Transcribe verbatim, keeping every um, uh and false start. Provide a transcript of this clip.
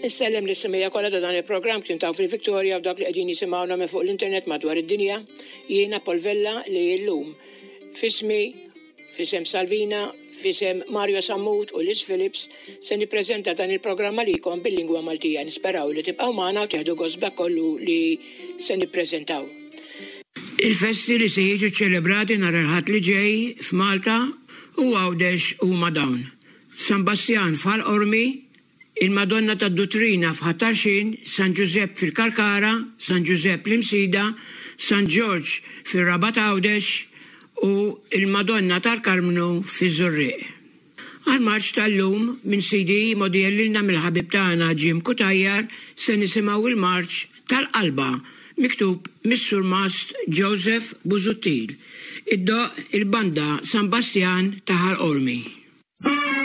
Insellem lis-semmiegħa kollha ta' dan il-programm kien taw fil-Victoria u dak li qegħdin jisimgħuna minn fuq l-internet madwar id-dinja. Jiena Paul Vella li llum f'ismi, f'isem Salvina, f'isem Mario Sammut u Liz Phillips se nippreżenta dan il-programm għalikom bil-lingwa Maltija. Nisperaw li tibqgħu magħna u tieħdu gost b'dak kollu li se nippreżentaw. Il-festi li se jiġu ċelebrati nhar il-Ħadd li ġej f'Malta u Għawdex huma dawn: San Bastjan f'Ħal Qormi, il-Madonna tad-Duttrina f'Ħal Tarxien, San Ġużepp fil-Kalkara, San Ġużepp l-Imsida, San Ġorġ fir-Rabat Għawdex u il-Madonna tal-Karmnu fiż-Żurrieq. Għal-marċ tal-lum minn C D mogħtija lilna mill-ħabib tagħna Jim Cutajar se nisimgħu il-marċ tal-Qalba miktub mis-Surmast Joseph Busuttil. Iddoqq il-banda San Bastian ta' Ħal Qormi.